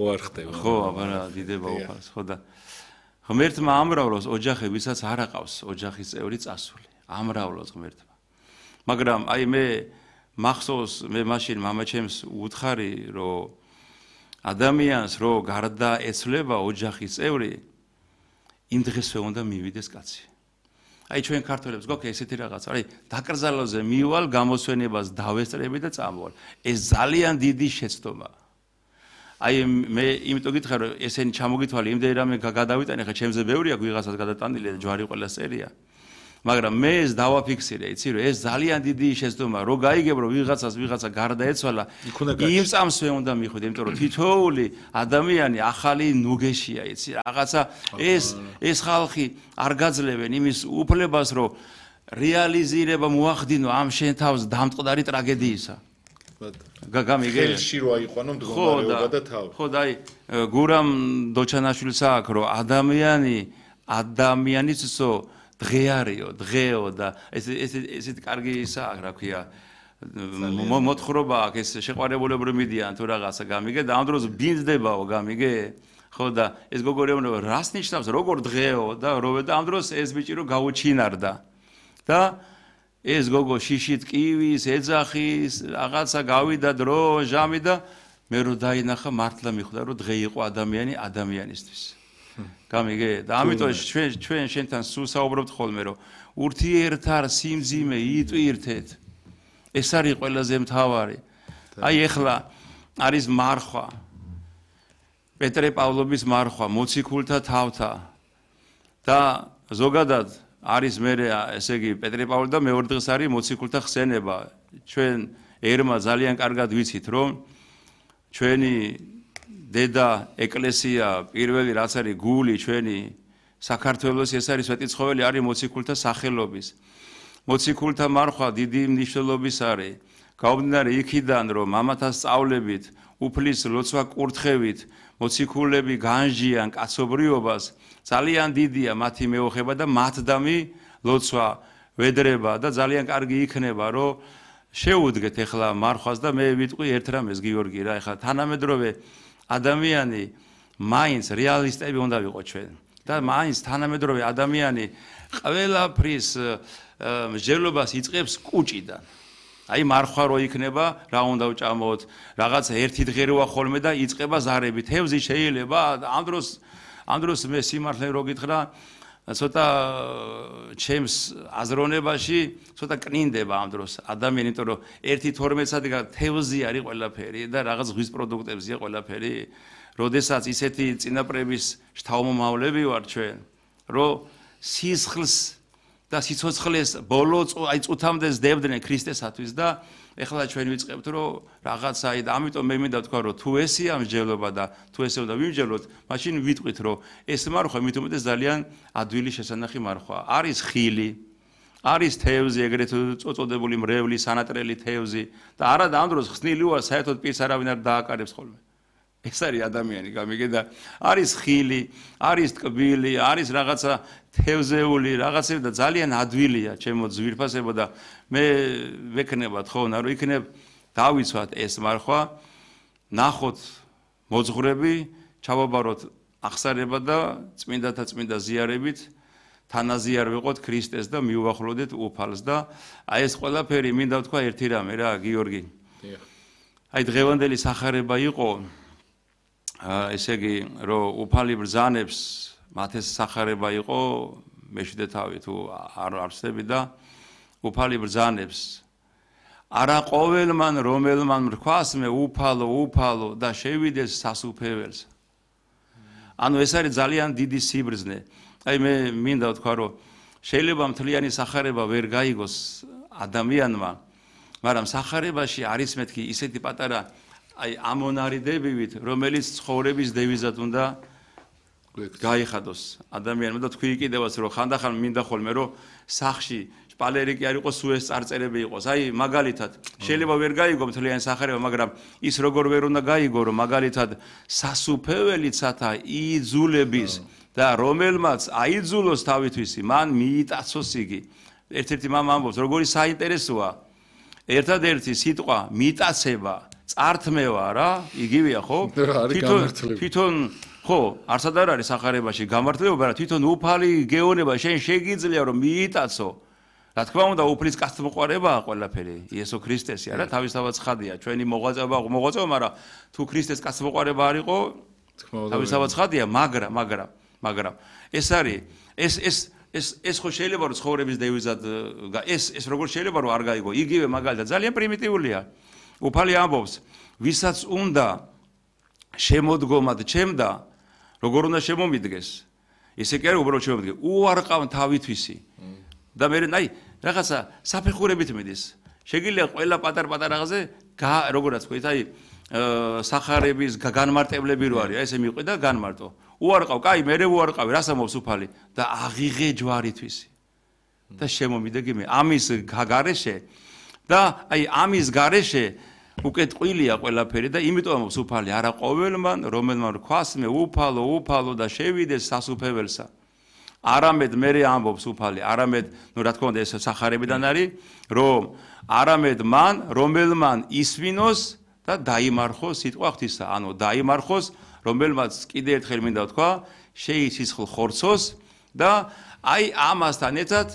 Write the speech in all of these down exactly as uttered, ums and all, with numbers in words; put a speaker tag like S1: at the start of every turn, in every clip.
S1: ხო არ ხდება.
S2: ხო, აბა დიდება უფალს, ხო და ღმერთმა ამრავლოს ოჯახებისაც არ აყავს ოჯახის წევრი წასული. ამრავლოს ღმერთმა. მაგრამ აი მე მახსოვს მე მაშინ მამაჩემს უთხარი რომ ადამიანს რო გარდა ეცვლება ოჯახის წევრი იმ დღესვე უნდა მივიდეს კაცი. აი ჩვენ ქართველებს გვაქვს ესეთი რაღაც, აი დაკრძალვაზე მივალ გამოსვენებას დავესწრები და წამოვალ. ეს ძალიან დიდი შეცდომაა. აი მე იმიტომ გითხრა რომ ესენი ჩამოგითვალე იმდენი რამე გადავიტანე ხა ჩემზე ბევრი აქვს ვიღაცას გადატანილი და ჯვარი ყველა წერია. მაგრამ მე ეს დავაფიქსირე, იცი რომ ეს ძალიან დიდი შეცდომაა, რო გაიგებ რომ ვიღაცას ვიღაცა გარდაეცვალა, იმ წამსვე უნდა მიხვიდე, იმიტომ რომ თითოეული ადამიანი ახალი ნუგეშია, იცი, რაღაცა ეს ეს ხალხი არ გაძლევენ იმის უფლებას, რომ რეალიზირება მოახდინო ამ შენ თავს დამწყდარი ტრაგედიისა. გამიგე
S1: ხელში რო აიყვანო მდგომარეობა და თავი.
S2: ხო და აი გურამ დოჩანაშვილს აქვს რომ ადამიანი ადამიანისო დღეარიო, დღეო და ეს ეს ესეთი კარგი ისა აქვს, რა ქვია, მოთხრობა აქვს, ეს შეყვარებულებრივი მიდიან თუ რაღაცა გამიგე და ამ დროს ბინძდებაო, გამიგე? ხო და ეს გოგორეუნება რას ნიშნავს, როგორ დღეო და როვე და ამ დროს ეს ბიჭი რო გაუჩინარდა. და ეს გოგო შიშით კივის, ეძახის, რაღაცა გავიდა დრო, ჟამი და მე რო დაინახა მართლა მიხვდა რომ დღე იყო ადამიანი ადამიანისთვის. გამიგე და ამიტომ ჩვენ ჩვენ შენთან სულ საუბრობთ ხოლმე რომ ურთიერთარ სიმძიმე იტვირთეთ ეს არის ყველაზე მთავარი. აი ეხლა არის მარხვა პეტრე პავლობის მარხვა მოციქულთა თავთა და ზოგადად არის მე ესე იგი პეტრე პავლე და მეორე დღეს არის მოციქულთა ხსენება. ჩვენ ერმა ძალიან კარგად ვიცით რომ ჩვენი დედა ეკლესია პირველი რაც არის გული ჩვენი საქართველოს ეს არის სვეტიცხოველი არის მოციქულთა სახელობის. მოციქულთა მარხვა დიდი მნიშვნელობის არის. გამომდინარე იქიდან რომ მამათა სწავლებით, უფლის ლოცვა კურთხევით მოციქულები განჟიან კაცობრიობას, ძალიან დიდია მათი მეოხება და მათდამი ლოცვა ვედრება და ძალიან კარგი იქნება რომ შეუდგეთ ახლა მარხვას და მე ვიტყვი ერთ რამეს გიორგი რა ახლა თანამედროვე ადამიანი მაინც რეალისტები უნდა ვიყო ჩვენ და მაინც თანამედროვე ადამიანი ყველაფრის მსჯელობას იწყებს კუჭიდან. აი მარხვა რო იქნება, რა უნდა ვჭამოთ, რაღაცა ერთი დღე როა ხოლმე და იწყება ზარები. თევზი შეიძლება ამ დროს ამ დროს მე სიმართლე რო გითხრა, ცოტა ჩემს აზროვნებაში ცოტა კნინდება ამ დროს ადამიანი, იმიტომ რომ ერთი თორმეტ საათი თევზი არის ყველაფერი და რაღაც ზღვის პროდუქტებზია ყველაფერი. როდესაც ისეთი წინაპრების შთამომავლები ვარ ჩვენ, რომ სისხლს და სიცოცხლეს ბოლო აი წუთამდე ზდებდნენ ქრისტესათვის და ეხლა ჩვენ ვიწყებთ რომ რაღაცა აი და ამიტომ მე მინდა თქვა რომ თუ ესია მსჯელობა და თუ ესე უნდა ვიმსჯელოთ, მაშინ ვიტყვით რომ ეს მარხვა მით უმეტეს ძალიან ადვილი შესანახი მარხვა. არის ხილი, არის თევზი, ეგრეთ წოწოდებული მრევლი, სანატრელი თევზი და არა და ამ დროს ხსნილი ვარ საერთოდ პირს არავინ არ დააკარებს ხოლმე. ეს არის ადამიანი, გამიგე და არის ხილი, არის ტკბილი, არის რაღაცა თევზეული, რაღაცები და ძალიან ადვილია ჩემო ძვირფასებო და მე ვექნებათ ხო, რომ იქნებ დავიცვათ ეს მარხვა, ნახოთ მოძღვრები, ჩავაბაროთ აღსარება და წმინდათა წმინდა ზიარებით თანაზიარ ვიყოთ ქრისტეს და მიუახლოვდეთ უფალს და აი ეს ყველაფერი მინდა ვთქვა ერთი რამე რა, გიორგი. აი დღევანდელი სახარება იყო ესე იგი რომ უფალი ბრძანებს მათეს სახარება იყო მეშვიდე თავი თუ არ არსები და უფალი ბრძანებს არა ყოველმან რომელმან მრქვას მე უფალო უფალო და შევიდეს სასუფეველს. ანუ ეს არის ძალიან დიდი სიბრძნე. აი მე მინდა ვთქვა რომ შეიძლება მთლიანი სახარება ვერ გაიგოს ადამიანმა, მაგრამ სახარებაში არის მეთქი ისეთი პატარა აი ამონარიდებივით, რომელიც ცხოვრების დევიზად უნდა გაიხადოს ადამიანმა და თქვი კიდევაც რომ ხანდახან მინდა ხოლმე რომ სახში შპალერიკი არ იყოს, სულ ეს წარწერები იყოს. აი მაგალითად, შეიძლება ვერ გაიგო მთლიანი სახარება, მაგრამ ის როგორ ვერ უნდა გაიგო, რომ მაგალითად სასუფეველიცათა იძულების და რომელმაც აიძულოს თავითვისი, მან მიიტაცოს იგი. ერთ-ერთი მამა ამბობს, როგორი საინტერესოა. ერთადერთი სიტყვა მიტაცება წართმევა რა, იგივეა ხო?
S1: თვითონ
S2: თვითონ ხო, არსად არ არის სახარებაში გამართლება, რა თვითონ უფალი გეონება შენ შეგიძლია რომ მიიტაცო. რა თქმა უნდა, უფლის კაცთმოყვარებაა ყველაფერი, იესო ქრისტესი არა, თავისთავად ცხადია, ჩვენი მოღვაწეობა მოღვაწეობა, მაგრამ თუ ქრისტეს კაცთმოყვარება არ იყო, თავისთავად ცხადია, მაგრამ, მაგრამ, მაგრამ ეს არის, ეს ეს ეს ეს ხო შეიძლება რომ ცხოვრების დევიზად ეს ეს როგორ შეიძლება რომ არ გაიგო, იგივე მაგალითად ძალიან პრიმიტიულია. უფალი ამბობს, ვისაც უნდა შემოდგომად ჩემდა, როგორ უნდა შემომიდგეს. ესე კი არის უბრალოდ შემომიდგე, უარყავ თავითვისი. და მე აი რაღაცა საფეხურებით მიდის. შეგიძლია ყველა პატარ-პატარ რაღაცზე როგორაც ვთქვით, აი სახარების განმარტებლები რო არის, აი ესე მიყვი და განმარტო. უარყავ, კაი, მე უარყავი, რას ამბობს უფალი და აღიღე ჯვარითვისი. და შემომიდეგი მე ამის გარეშე და აი ამის გარეშე უკვე ტყილია ყველაფერი და იმიტომ ამბობს უფალი არა ყოველმან, რომელმან რქვას მე უფალო, უფალო და შევიდეს სასუფეველსა. არამედ მე ამბობს უფალი, არამედ, ნუ რა თქმა უნდა ეს სახარებიდან არის, რომ არამედ მან, რომელმან ისვინოს და დაიმარხოს სიტყვა ღვთისა, ანუ დაიმარხოს, რომელმაც კიდე ერთხელ მინდა ვთქვა, შეიცისხლ ხორცოს და აი ამასთან ერთად,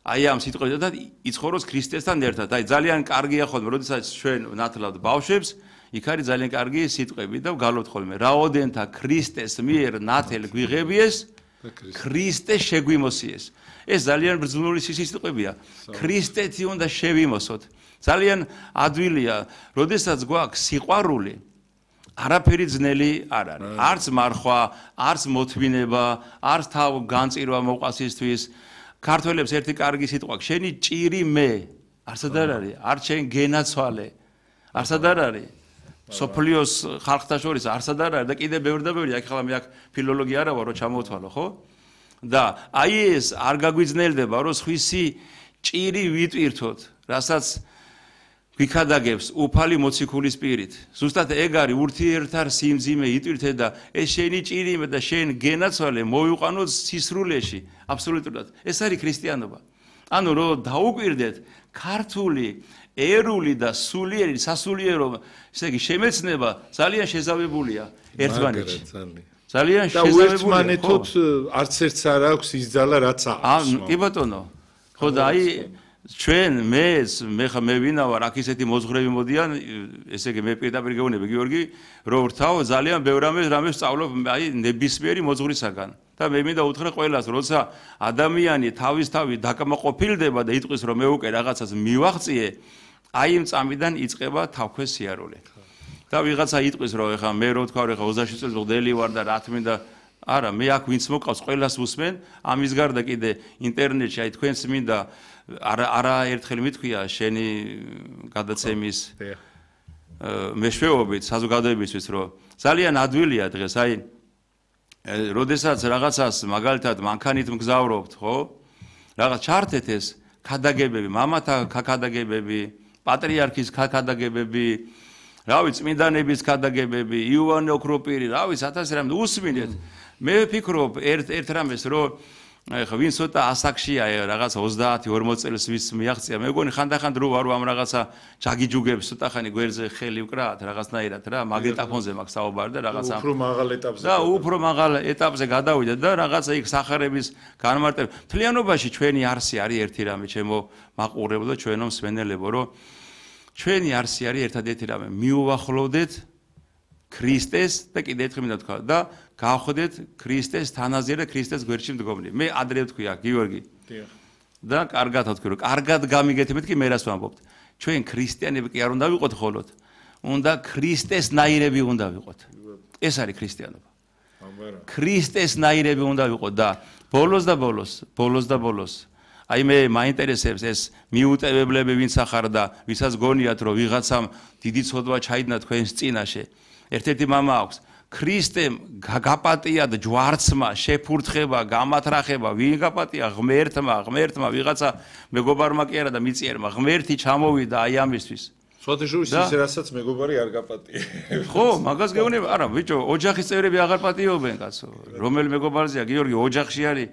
S2: აი ამ სიტყვებთან იცხოვროს ქრისტესთან ერთად. აი ძალიან კარგია ხოლმე, როდესაც ჩვენ ვნათლავთ ბავშვებს, იქ არის ძალიან კარგი სიტყვები და ვგალობთ ხოლმე, რაოდენთა ქრისტეს მიერ ნათელ გვიღებიეს ქრისტე შეგვიმოსიეს. ეს ძალიან ბრძნული სიტყვებია. ქრისტეთი უნდა შევიმოსოთ. ძალიან ადვილია, როდესაც გვაქვს სიყვარული, არაფერი ძნელი არ არის. არც მარხვა, არც მოთმინება, არც თავ განწირვა მოყვასისთვის. ქართველებს ერთი კარგი სიტყვა, შენი ჭირი მე, არსად არ არის, არც შენ გენაცვალე. არსად არ არის. სოფლიოს ხალხთა შორის არსად არ არის და კიდე ბევრი და ბევრი, აქ ხლა მე აქ ფილოლოგია არა ვარ, რომ ჩამოვთვალო, ხო? და აი ეს არ გაგვიძნელდება, რომ სხვისი ჭირი ვიტვირთოთ, რასაც გვიქადაგებს უფალი მოციქულის პირით. ზუსტად ეგ არის ურთიერთარ სიმძიმე იტვირთე და ეს შენი ჭირი და შენ გენაცვალე მოვიყვანოთ სისრულეში, აბსოლუტურად. ეს არის ქრისტიანობა. ანუ რომ დაუკვირდეთ ქართული ერული და სულიერი სასულიერო, ესე იგი შემეცნება ძალიან შეზავებულია ერთმანეთში. ძალიან შეზავებულია.
S1: და ერთმანეთოთ არც ერთს არ აქვს ის ძალა რაც აქვს.
S2: კი ბატონო. ხო და აი ჩვენ მე მე ხა მე ვინა ვარ, აქ ისეთი მოძღვრები მოდიან, ესე იგი მე პირდაპირ გეუბნები გიორგი, რომ ვრთავ ძალიან ბევრ რამეს რამეს სწავლობ აი ნებისმიერი მოძღვრისაგან. და მე მინდა უთხრა ყველას, როცა ადამიანი თავისთავად დაკმაყოფილდება და იტყვის რომ მე უკვე რაღაცას მივაღწიე, აი იმ წამიდან იწყება თავქვე სიარული. და ვიღაცა იტყვის რომ ეხა მე რო თქვა რომ ეხა ოცდაშვიდ წელს მღვდელი ვარ და რა თქმა უნდა არა, მე აქ ვინც მოყავს ყველას ვუსმენ, ამის გარდა კიდე ინტერნეტში აი თქვენს მინდა არა არა ერთხელ მithქვია შენი გადაცემის მეშვეობით საზოგადოებისთვის რომ ძალიან ადვილია დღეს აი როდესაც რაღაცას მაგალითად მანქანით მგზავრობთ, ხო? რაღაც ჩართეთ ეს ქადაგებები, მამათა ქადაგებები, პატრიარქის ქადაგებები, რავი, წმინდანების ქადაგებები, იოანე ოქროპირი, რავი, ათასი რამე უსმინეთ. მე ვფიქრობ ერთ ერთ რამეს, რომ ეხა ვინ ცოტა ასაკშია, რაღაც ოცდაათი ორმოცი წელს ვის მიაღწია, მე მგონი ხანდახან რო ვარ ამ რაღაცა ჯაგიჯუგებს ცოტა ხანი გვერდზე ხელი ვკრათ რაღაცნაირად რა, მაგნიტოფონზე მაქვს საუბარი და რაღაცა
S1: უფრო მაღალ ეტაპზე
S2: და უფრო მაღალ ეტაპზე გადავიდა და რაღაცა იქ სახარების განმარტება. მთლიანობაში ჩვენი არსი არის ერთი რამე, ჩემო მაყურებელო, ჩვენო მსმენელებო, რომ ჩვენი არსი არის ერთადერთი რამე, მიუახლოვდეთ ქრისტეს და კიდე ერთხელ მინდა თქვა და გავხდეთ ქრისტეს თანაზე და ქრისტეს გვერდში მდგომნი. მე ადრე ვთქვია, გიორგი. დიახ. და კარგად ვთქვი, რომ კარგად გამიგეთებთ კი მე რას ვამბობთ. ჩვენ ქრისტიანები კი არ უნდა ვიყოთ ხოლოდ, უნდა ქრისტესნაირები უნდა ვიყოთ. ეს არის ქრისტიანობა. ქრისტესნაირები უნდა ვიყოთ და ბოლოს და ბოლოს, ბოლოს და ბოლოს აი მე მაინტერესებს ეს მიუტევებლები ვინც ახარ და ვისაც გონიათ რომ ვიღაცამ დიდი ცოდვა ჩაიდგა თქვენს წინაშე. ერთ-ერთი მამა აქვს ქრისტემ გაპატია და ჯვარცმა შეფურთხება, გამათრახება, ვინ გაპატია? ღმერთმა, ღმერთმა ვიღაცა მეგობარმა კი არა და მიწიერმა ღმერთი ჩამოვიდა აი ამისთვის.
S1: სხვათაშორის ის რასაც მეგობარი არ გაპატია.
S2: ხო, მაგას გეუბნება, არა, ბიჭო, ოჯახის წევრები აღარ პატიობენ კაცო. რომელი მეგობარზეა, გიორგი, ოჯახში არის.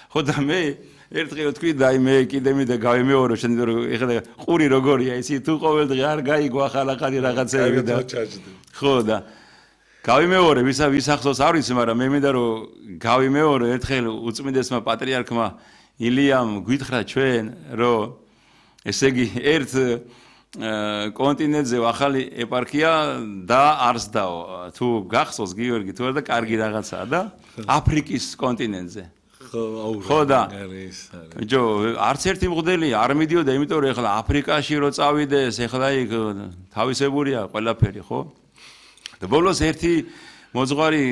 S2: ხო და მე ერთხელ თქვი და აი მე კიდე მინდა გავიმეორო შენ ეხლა ყური როგორია ისი თუ ყოველდღე არ გაიგო ახალ-ახალი რაღაცები და ხო და გავიმეორე ვისა ვისახსოვს არ ვიცი მაგრამ მე მინდა რომ გავიმეორო ერთხელ უწმინდესმა პატრიარქმა ილიამ გვითხრა ჩვენ რომ ესე იგი ერთ კონტინენტზე ახალი ეპარქია და არსდაო თუ გახსოვს გიორგი თუ არა და კარგი რაღაცაა და აფრიკის კონტინენტზე ხო და ჯო არც ერთი მღვდელი არ მიდიოდა იმიტომ რომ ეხლა აფრიკაში რო წავიდეს ეხლა იქ თავისებურია ყველაფერი ხო და ბოლოს ერთი მოძღვარი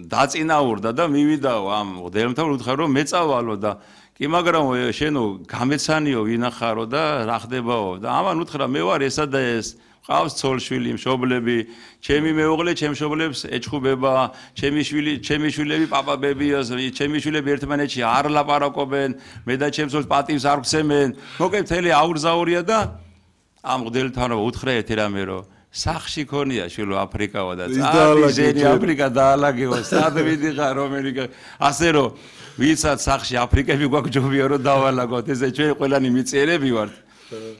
S2: დაწინაურდა და მივიდაო ამ მღვდელმთავარ უთხრა რომ მეწავალო და კი მაგრამ შენო გამეცანიო ვინახარო და რა ხდებაო და ამან უთხრა მე ვარ ესა და ეს ყავს ცოლშვილი მშობლები ჩემი მეუღლე ჩემ მშობლებს ეჩხუბება ჩემი შვილი ჩემი შვილები პაპაბებია ჩემი შვილები ერთმანეთში არ ლაპარაკობენ მე და ჩემ ცოლს პატივს არ გცემენ მოკლედ მთელი აურზაურია და ამ მღვდელთან უთხრა ერთი რამე რომ სახში ქონია შვილო აფრიკაო და წადი აფრიკა დაალაგეო სად ვიდიხარ რომელი ასე რომ ვისაც სახში აფრიკები გვაქვს ჯობია რომ დავალაგოთ ესე ჩვენ ყველანი მიწიერები ვართ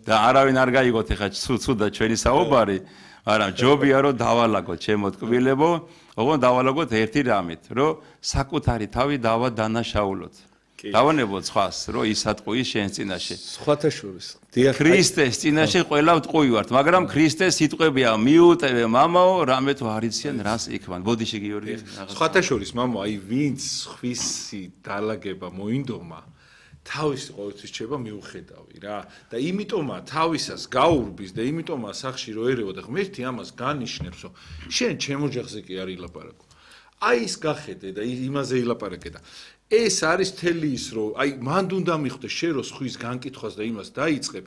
S2: და არავინ არ გაიგოთ ეხა ცუდა ჩვენი საუბარი მაგრამ ჯობია რომ დავალაგოთ ჩემო ტკბილებო ოღონდ დავალაგოთ ერთი რამით რომ საკუთარი თავი დავა დანაშაულოთ დავანებოთ სხვას რომ ის ატყუის შენ წინაშე
S1: სხვათა შორის
S2: ქრისტეს წინაშე ყველა ტყუი ვართ მაგრამ ქრისტეს სიტყვებია მიუტევე მამაო რამე თუ არიციან რას იქმან ბოდიში გიორგი
S1: სხვათა შორის მამო აი ვინც ხვისი დალაგება მოინდომა თავისი ყოველთვის შეება მიუხედავი რა და იმიტომა თავისას გაურბის და იმიტომა სახში რო ერეო და ღმერთი ამას განიშნებს რომ შენ ჩემ ოჯახზე კი არ ილაპარაკო აი ის გახედე და იმაზე ილაპარაკე და ეს არის თელი ის რომ აი მანდ უნდა მიხვდე შენ რო სხვის განკითხვას და იმას დაიწყებ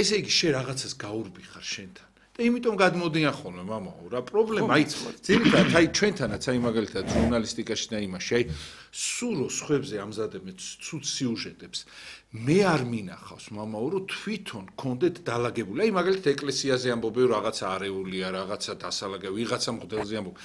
S1: ესე იგი შენ რაღაცას გაურბი ხარ შენთან და იმიტომ გადმოდიან ხოლმე მამაო რა პრობლემა აი ძირითადად აი ჩვენთანაც აი მაგალითად ჟურნალისტიკაში და იმაში აი სულ რო სხვებზე ამზადებენ ცუდ სიუჟეტებს მე არ მინახავს მამაო რომ თვითონ კონდეთ დალაგებული აი მაგალითად ეკლესიაზე ამბობენ რაღაცა არეულია რაღაცა დასალაგე ვიღაცა მღვდელზე ამბობ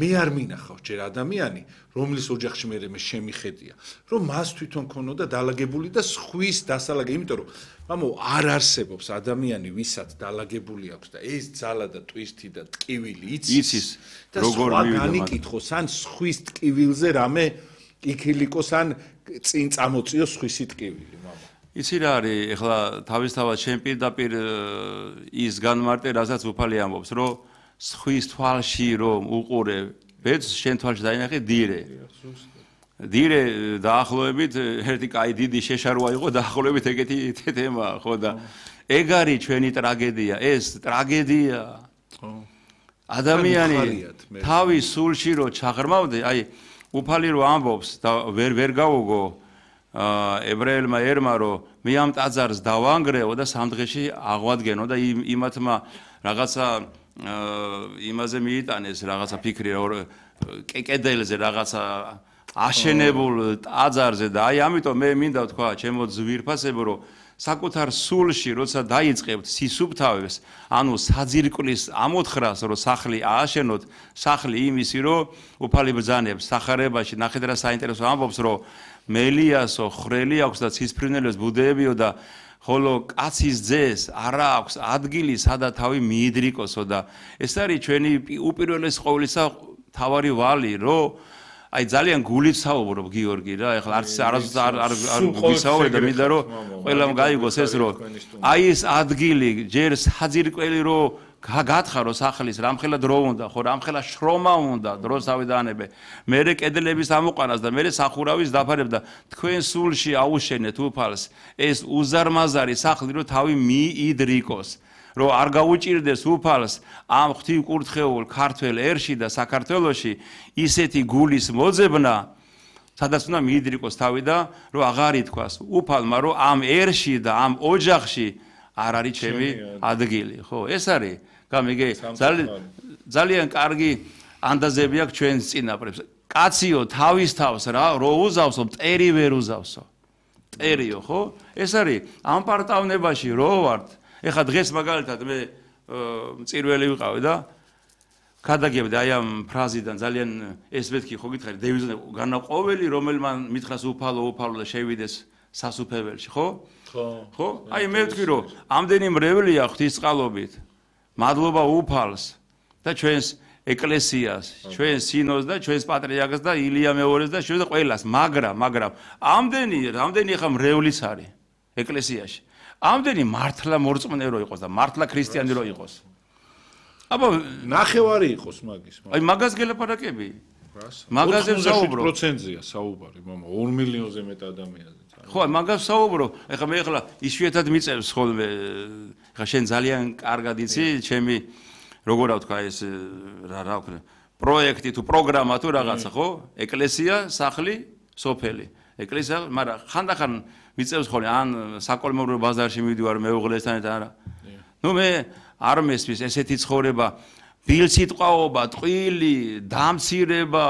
S1: მე არ მინახავს ჯერ ადამიანი რომლის ოჯახში მე მე შემიხედია რომ მას თვითონ ქონოდა დალაგებული და სხვის დასალაგე იმიტომ რომ მამო არ არსებობს ადამიანი ვისაც დალაგებული აქვს და ეს ძალა და ტვისტი და ტკივილი იცის და როგორ განიკითხოს ან სხვის ტკივილზე რამე იქილიკოს ან წინ წამოწიოს სხვისი ტკივილი მამა
S2: იცი რა არის ეხლა თავისთავად შენ პირდაპირ ის განმარტე რასაც უფალი ამბობს რომ სხვის თვალში რომ უყურე ბედს შენ თვალში დაინახე დირე დირე დაახლოებით ერთი კაი დიდი შეშარვა იყო დაახლოებით ეგეთი თემა ხო და ეგ არის ჩვენი ტრაგედია ეს ტრაგედია ადამიანი თავის სულში რო ჩაღრმავდე აი უფალი რო ამბობს და ვერ ვერ გავუგო ებრაელმა ერმა რომ მე ამ ტაძარს დავანგრეო და სამ დღეში აღვადგენო და იმათმა რაღაცა იმაზე მიიტანეს რაღაცა ფიქრი კედელზე რაღაცა აშენებულ ტაძარზე და აი ამიტომ მე მინდა თქვა ჩემო ძვირფასებო რომ საკუთარ სულში როცა დაიწყებთ სისუფთავეს ანუ საძირკვლის ამოთხრას რომ სახლი ააშენოთ სახლი იმისი რომ უფალი ბრძანებს სახარებაში ნახეთ რა საინტერესო ამბობს რომ მელიასო ხრელი აქვს და ცისფრინელებს ბუდეებიო და ხოლო კაცის ძეს არა აქვს ადგილი სადა თავი მიიდრიკოსო და ეს არის ჩვენი უპირველეს ყოვლისა თავარი ვალი რომ აი ძალიან გულით საუბრობ გიორგი რა ეხლა არც არასდროს არ არ გვისაუბრე და მინდა რომ ყველამ გაიგოს ეს რომ აი ეს ადგილი ჯერ საძირკველი რომ გათხარო სახლის რამხელა დრო უნდა ხო რამხელა შრომა უნდა დროს ავიდანებე მერე კედლების ამოყანას და მერე სახურავის დაფარებ და თქვენ სულში აუშენეთ უფალს ეს უზარმაზარი სახლი რომ თავი მიიდრიკოს რომ არ გაუჭირდეს უფალს ამ ღვთივკურთხეულ ქართველ ერში და საქართველოში ისეთი გულის მოძებნა სადაც უნდა მიიდრიკოს თავი და რომ აღარ ითქვას უფალმა რომ ამ ერში და ამ ოჯახში არ არის ჩემი ადგილი ხო ეს არის გამიგე ძალიან კარგი ანდაზები აქვს ჩვენს წინაპრებს კაციო თავის თავს რა რო უზავსო მტერი ვერ უზავსო მტერიო ხო ეს არის ამ პარტავნებაში რო ვართ ეხა დღეს მაგალითად მე მწირველი ვიყავი და გადაგებდი აი ამ ფრაზიდან ძალიან ეს მეთქი ხო გითხარი დევიზი განაყოველი რომელმან მითხრას უფალო უფალო და შევიდეს სასუფეველში ხო
S1: ხო
S2: ხო აი მე ვთქვი რომ ამდენი მრევლია ღვთისწყალობით მადლობა უფალს და ჩვენს ეკლესიას ჩვენს სინოდს და ჩვენს პატრიარქს და ილია მეორეს და ჩვენ ყველას მაგრამ მაგრამ ამდენი ამდენი ხა მრევლიც არის ეკლესიაში ამდენი მართლა მორწმუნე რო იყოს და მართლა ქრისტიანი რო იყოს აბა
S1: ნახევარი იყოს მაგის
S2: აი მაგას გელაპარაკები მაგაზე საუბრო
S1: ოთხმოცდაშვიდ პროცენტია საუბარი მამა ორ მილიონზე მეტ ადამიანზე
S2: ხო მაგას საუბრო ეხლა მე ეხლა იშვიათად მიწევს ხოლმე ეხლა შენ ძალიან კარგად იცი ჩემი როგორ ვთქვა ეს რა რა ვქნა პროექტი თუ პროგრამა თუ რაღაცა ხო ეკლესია სახლი სოფელი ეკლესია მაგრამ ხანდახან მიწევს ხოლმე ან საკოლმეურვე ბაზარში მივიდივარ მეუღლესთან და არა ნუ მე არ მესმის ესეთი ცხოვრება ბილსიტყვაობა ტყვილი დამცირება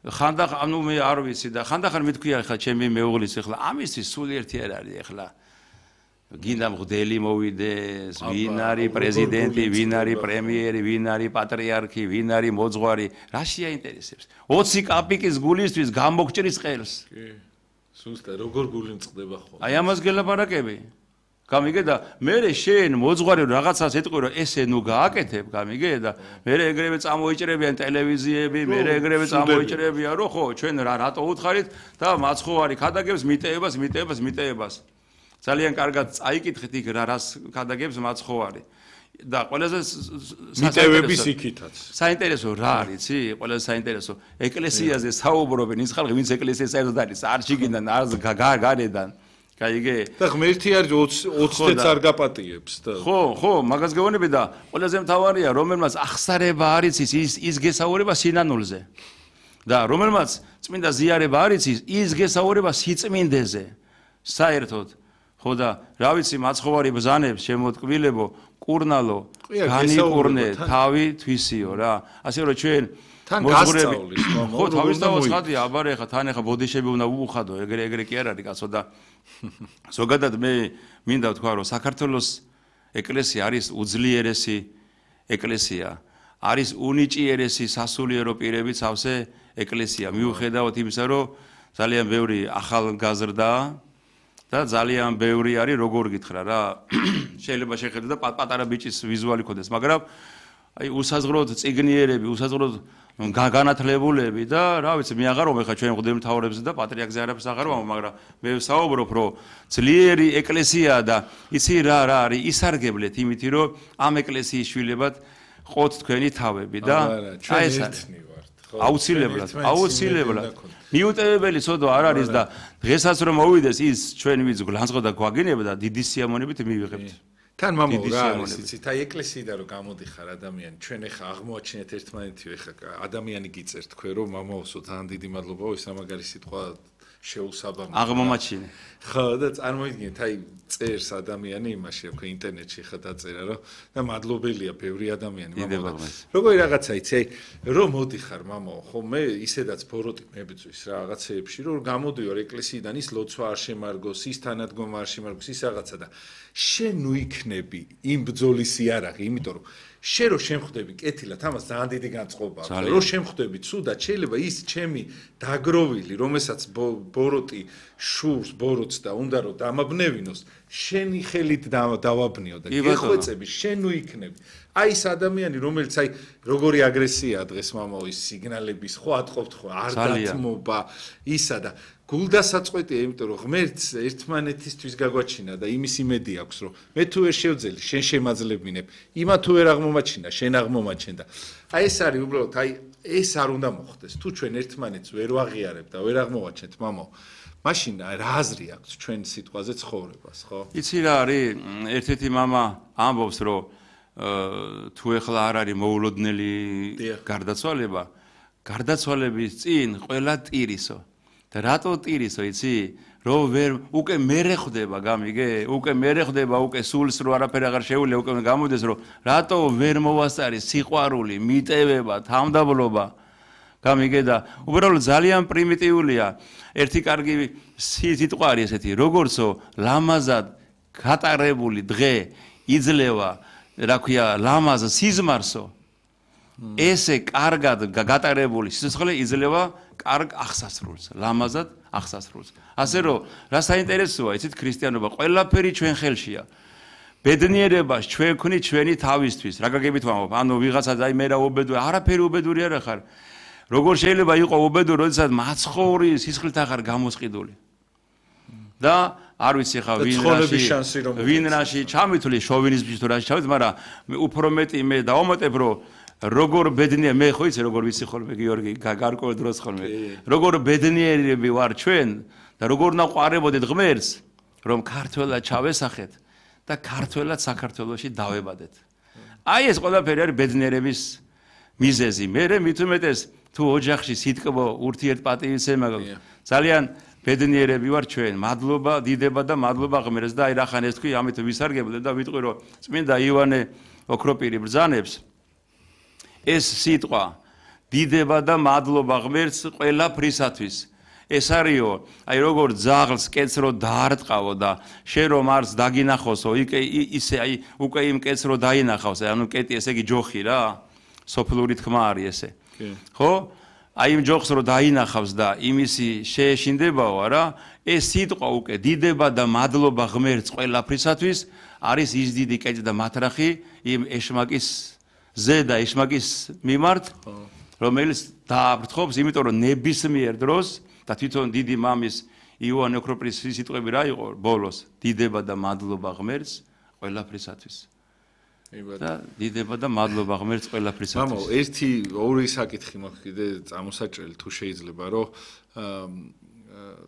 S2: ხანდახან ანუ მე არ ვიცი და ხანდახან მithქვია ხა ჩემი მეუღლის ეხლა ამისთვის სულ ერთი არ არის ეხლა გინდა მღვდელი მოვიდეს ვინ არის პრეზიდენტი ვინ არის პრემიერი ვინ არის პატრიარქი ვინ არის მოძღვარი რა შეაინტერესებს ოცი კაპიკის გულისთვის გამოგჭრის ყელს
S1: კი სულთა როგორ გული მწყდება ხო
S2: აი ამას გელაპარაკები გამიგე და მე შენ მოძღვარი რაღაცას ეტყვი რომ ესე ნუ გააკეთებ გამიგე და მე ეგრევე წამოიჭრებიან ტელევიზიები მე ეგრევე წამოიჭრებიან რომ ხო ჩვენ რა რატო უთხარით და მაცხოვარი ხადაგებს მიტევებას მიტევებას მიტევებას ძალიან კარგად წაიკითხეთ იქ რა რას ხადაგებს მაცხოვარი და ყველაზე
S1: მიტევების იქითაც
S2: საინტერესო რა არის იცი ყველაზე საინტერესო ეკლესიაზე საუბრობენ ის ხალხი ვინც ეკლესიას საერთოდ არის არ შიგიდან არ გარედან გაიგე
S1: და ღმერთი არის ოცდაათს არ გაპატიებს და
S2: ხო ხო მაგას გეუბნები და ყველაზე მთავარია რომელმაც ახსარება არის ის ის გესაუბრება სინანულზე და რომელმაც წმინდა ზიარება არის ის გესაუბრება სიწმინდეზე საერთოდ ხო და რა ვიცი მაცხოვარი ბრძანებს შემოტკბილებო კურნალო განიკურნე თავი თვისიო რა ასე რომ ჩვენ
S1: თან გასწავლის
S2: ხო თავისთავად ხადია აბარე ხა თან ხა ბოდიშები უნდა უხადო ეგრე ეგრე კი არ არის კაცო და ზოგადად მე მინდა ვთქვა რომ საქართველოს ეკლესია არის უძლიერესი ეკლესია არის უნიჭიერესი სასულიერო პირებით სავსე ეკლესია მიუხედავად იმისა რომ ძალიან ბევრი ახალგაზრდაა და ძალიან ბევრი არის როგორ გითხრა რა შეიძლება შეხედო და პატარა ბიჭის ვიზუალი ქონდეს მაგრამ აი უსაზღროდ წიგნიერები უსაზღროდ განათლებულები და რა ვიცი მე აღარ ვამბობ ხა ჩვენ მღვდელმთავრებზე და პატრიარქზე არაფერს აღარ ვამბობ მაგრამ მე ვსაუბრობ რომ ძლიერი ეკლესია და იცი რა რა არის ისარგებლეთ იმითი რომ ამ ეკლესიის შვილებად ყოთ თქვენი თავები და
S1: აი ეს არის
S2: აუცილებლად აუცილებლად მიუტევებელი ცოდვა არ არის და დღესაც რომ მოვიდეს ის ჩვენ ვიც გლანძღო და გვაგინება და დიდი სიამოვნებით მივიღებთ
S1: თან მამა რა არის იცით აი ეკლესიიდან რომ გამოდიხარ ადამიანი ჩვენ ეხა აღმოაჩინეთ ერთმანეთიო ეხა ადამიანი გიწერთ თქვენ რომ მამაოსო თან დიდი მადლობა ის ამაგარი სიტყვა შეუსაბამო
S2: აღმომაჩინე
S1: ხო და წარმოიდგინეთ აი წერს ადამიანი იმაში რა ქვია ინტერნეტში ხა დაწერა რომ და მადლობელია ბევრი ადამიანი მამა როგორი რაღაცა იცი აი რომ მოდიხარ მამაო ხო მე ისედაც ბოროტი მებძვის რა რაღაცეებში რომ გამოდივარ ეკლესიიდან ის ლოცვა არ შემარგოს ის თანადგომა არ შემარგოს ის რაღაცა და შენ ნუ იქნები იმ ბრძოლის იარაღი იმიტომ რომ შენ რო შემხვდები კეთილად ამას ძალიან დიდი განწყობა აქვს რო შემხვდები ცუდად შეიძლება ის ჩემი დაგროვილი რომელსაც ბოროტი შურს ბოროტს და უნდა რომ დამაბნევინოს შენი ხელით დავაბნიო და გეხვეწები შენ ნუ იქნები აი ეს ადამიანი რომელიც აი როგორი აგრესია დღეს მამაო ის სიგნალების ხო ატყობთ ხო არ დათმობა ისა და გულდასაწყვეტია იმიტომ რომ ღმერთს ერთმანეთისთვის გაგვაჩინა და იმის იმედი აქვს რომ მე თუ ვერ შევძელი შენ შემაძლებინებ იმა თუ ვერ აღმომაჩინა შენ აღმომაჩენ და აი ეს არის უბრალოდ აი ეს არ უნდა მოხდეს თუ ჩვენ ერთმანეთს ვერ ვაღიარებთ და ვერ აღმოვაჩენთ მამაო მაშინ რა აზრი აქვს ჩვენ სიტყვაზე ცხოვრებას ხო
S2: იცი რა არის ერთ-ერთი მამა ამბობს რომ თუ ეხლა არ არის მოულოდნელი გარდაცვალება გარდაცვალების წინ ყველა ტირისო და რატო ტირისო იცი რომ ვერ უკვე მერე ხვდება გამიგე უკვე მერე ხვდება უკვე სულს რო არაფერი აღარ შეუძლია უკვე გამოდეს რომ რატო ვერ მოვასწარი სიყვარული მიტევება თამდაბლობა გამიგე და უბრალოდ ძალიან პრიმიტიულია ერთი კარგი სიტყვა არის ესეთი როგორცო ლამაზად გატარებული დღე იძლევა რა ქვია ლამაზ სიზმარსო ესე კარგად გატარებული სიცოცხლე იძლევა კარგ აღსასრულს, ლამაზად აღსასრულს. ასე რომ, რა საინტერესოა, იცით, ქრისტიანობა ყველაფერი ჩვენ ხელშია. ბედნიერებას ჩვენ ვქნით ჩვენი თავისთვის. რა გაგებით ვამბობ? ანუ ვიღაცა აი მე რა უბედური, არაფერი უბედური არ ხარ. როგორ შეიძლება იყო უბედური, როდესაც მაცხოვრი სისხლით ახარ გამოსყიდული. და არ ვიცი ხა ვინ რაში ვინ რაში ჩამithვლის შოვინიზმში თუ რაში ჩამith, მაგრამ უფრო მეტი მე დავამატებ, რომ როგორ ბედნიერ მე ხო იცი როგორ ვიცი ხოლმე გიორგი გარკვეულ დროს ხოლმე როგორ ბედნიერები ვარ ჩვენ და როგორ ნაყვარებოდეთ ღმერთს რომ ქართველად ჩავესახეთ და ქართველად საქართველოში დავებადეთ. აი ეს ყველაფერი არის ბედნიერების მიზეზი. მე მით უმეტეს თუ ოჯახში სიტკბო ურთიერთპატივისცემა ძალიან ბედნიერები ვარ ჩვენ. მადლობა დიდება და მადლობა ღმერთს და აი რახან ეს თქვი ამით ვისარგებლებ და ვიტყვი რომ წმინდა ივანე ოქროპირი ბრძანებს ეს სიტყვა დიდება და მადლობა ღმერთს ყველაფრისათვის ეს არისო აი როგორ ძაღლს კეცრო დაარტყავო და შენ რომ არს დაგინახოსო იქ ისე აი უკვე იმ კეცრო დაინახავს ანუ კეტი ესე იგი ჯოხი რა სოფლური თქმა არის ესე ხო აი იმ ჯოხს რომ დაინახავს და იმისი შეეშინდებაო რა ეს სიტყვა უკვე დიდება და მადლობა ღმერთს ყველაფრისათვის არის ის დიდი კეჭ და მათრახი იმ ეშმაკის ზედა ეშმაკის მიმართ რომელიც დააბრთხოვს იმიტომ რომ ნებისმიერ დროს და თვითონ დიდი მამის ივანე ოქროპირის სიტყვები რა იყო ბოლოს დიდება და მადლობა ღმერთს ყველაფრისათვის და დიდება და მადლობა ღმერთს ყველაფრისათვის.
S1: მამო, ერთი ორი საკითხი მაქვს კიდე წამოსაჭრელი თუ შეიძლება რომ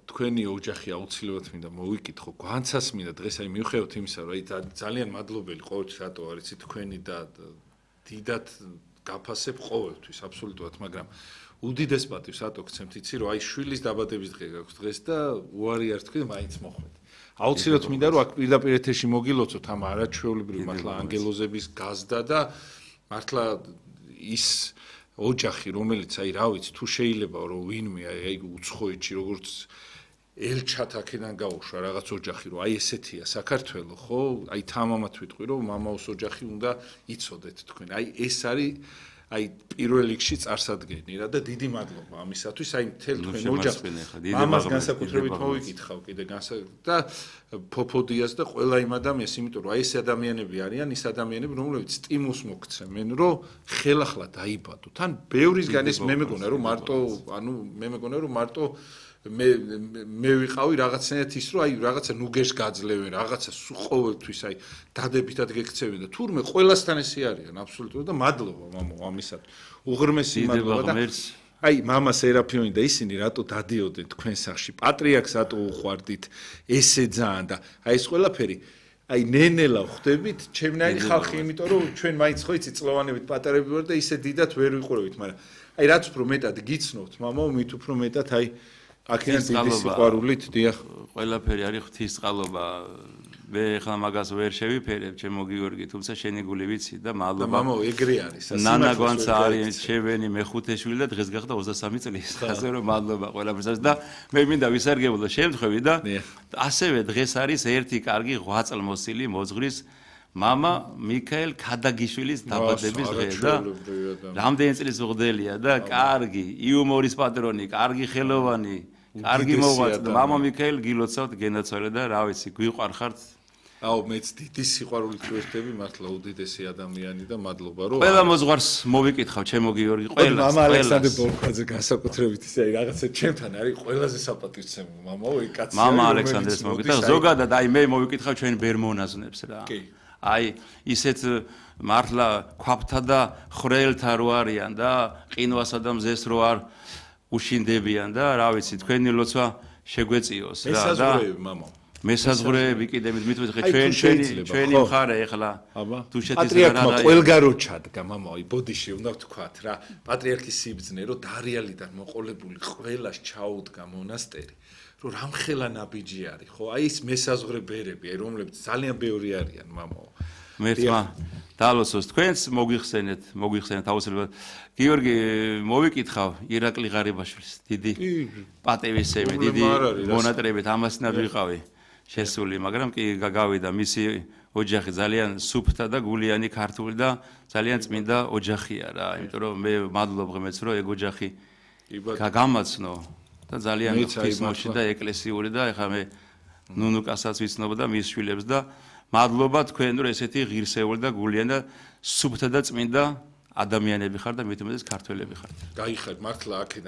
S1: თქვენი ოჯახი აუცილებლად მინდა მოვიკითხო, განცას მინდა დღეს აი მივხვდეთ იმისა რომ აი ძალიან მადლობელი ყოველთვის რატო არის თქვენი და დიდად გაფასებ ყოველთვის აბსოლუტურად, მაგრამ უდიდეს პატივს რატო გცემთ იცი რომ აი შვილის დაბადების დღე გაქვს დღეს და უარი არ თქვი მაინც მოხვედ. აუცილებლად მინდა რომ აქ პირდაპირ ეთერში მოგილოცოთ ამ არაჩვეულებრივ მართლა ანგელოზების გაზდა და მართლა ის ოჯახი რომელიც აი რა ვიცი თუ შეიძლება რომ ვინმე აი უცხოეთში როგორც ელჩათ აქედან გაუშვა რაღაც ოჯახი რომ აი ესეთია საქართველო ხო აი თამამად ვიტყვი რომ მამაოს ოჯახი უნდა იცოდეთ თქვენ აი ეს არის აი პირველ რიგში წარსადგენი რა და დიდი მადლობა ამისათვის აი მთელ თქვენ ოჯახს მამას განსაკუთრებით მოვიკითხავ კიდე და ფოფოდიას და ყველა იმ ადამიანს იმიტომ რომ აი ეს ადამიანები არიან ის ადამიანები რომლებიც სტიმულს მოგცემენ რომ ხელახლა დაიბადოთ თან ბევრისგან ეს მე მეგონა რომ მარტო ანუ მე მეგონა რომ მარტო მე მე ვიყავი რაღაცნაირად ის რომ აი რაღაცა ნუგეშ გაძლევენ რაღაცა ყოველთვის აი დადებითად გეკცევენ და თურმე ყველასთან ესე არიან აბსოლუტურად და მადლობა მამო ამისათვის უღრმესი მადლობა და აი მამა სერაფიონი და ისინი რატო დადიოდნენ თქვენ სახში პატრიარქს რატო უყვარდით ესე ძალიან და აი ეს ყველაფერი აი ნენელა ხვდებით ჩემნაირი ხალხი იმიტომ რომ ჩვენ მაინც ხო იცი წლოვანებით პატარები ვარ და ისე დიდად ვერ ვიყურებით მაგრამ აი რაც უფრო მეტად გიცნობთ მამა მით უფრო მეტად აი აქედან დიდი სიყვარულით დიახ
S2: ყველაფერი არის ღვთისწყალობა მე ხლა მაგას ვერ შევიფერებ ჩემო გიორგი თუმცა შენი გული ვიცი და მადლობა
S1: და მამო ეგრე არის
S2: ნანა გვანცა არის ჩემენი მეხუთე შვილი და დღეს გახდა ოცდასამი წლის ასე რომ მადლობა ყველაფერს და მე მინდა ვისარგებლო შემთხვევით და ასევე დღეს არის ერთი კარგი ღვაწლმოსილი მოძღვრის მამა მიქაელ ქადაგიშვილის დაბადების დღე და რამდენი წლის მღვდელია და კარგი იუმორის პატრონი კარგი ხელოვანი კარგი მოღვაწე მამა მიქაელ გილოცავთ გენაცვალე და რა ვიცი გვიყვარხართ
S1: აუ მეც დიდი სიყვარულით ვერთები მართლა უდიდესი ადამიანი და მადლობა რომ
S2: ყველა მოძღვარს მოვიკითხავ ჩემო გიორგი ყველას
S1: მამა ალექსანდრე ბოლქვაძე განსაკუთრებით ისე აი რაღაცა ჩემთან არის ყველაზე საპატივცემო მამაო ეგ კაცი
S2: მამა ალექსანდრეს მოვიკითხავ ზოგადად აი მე მოვიკითხავ ჩვენ ბერმონაზნებს რა აი ისეთ მართლა ქვაფთა და ხრელთა რო არიან და ყინვასა და მზეს რო არ უშინდებიან და რა ვიცი თქვენი ლოცვა შეგვეწიოს რა და
S1: მესაზღვრეები მამო
S2: მესაზღვრეები კიდე მithვით ხე ჩვენ ჩვენი ჩვენი მხარე ეხლა
S1: თუ შეთის რა რა ყველგარო ჩადგა მამო აი ბოდიში უნდა ვთქვათ რა პატრიარქის სიბძნე რო დარიალიდან მოყოლებული ყველას ჩაუდგა მონასტერი რომ რამხელა ნაბიჯი არის ხო აი ეს მესაზღვრე ბერები აი რომლებიც ძალიან ბევრი არიან მამო
S2: მერტმა დალოცოს თქვენს მოგიხსენეთ მოგიხსენეთ აუცილებლად გიორგი მოვიკითხავ ირაკლი ღარიბაშვილის დიდი პატივისცემი დიდი მონატრებით ამასნად ვიყავი შესული, მაგრამ კი გავიდა მისი ოჯახი ძალიან სუფთა და გულიანი ქართული და ძალიან წმინდა ოჯახია რა, იმიტომ რომ მე მადლობ ღმერთს რომ ეგ ოჯახი გამაცნო და ძალიან ღვთისმოში და ეკლესიური და ეხლა მე ნუნუკასაც ვიცნობ და მის შვილებს და მადლობა თქვენ რომ ესეთი ღირსეული და გულიანი და სუფთა და წმინდა ადამიანები ხარ და მით უმეტეს ქართველები ხართ.
S1: გაიხარ მართლა აქედან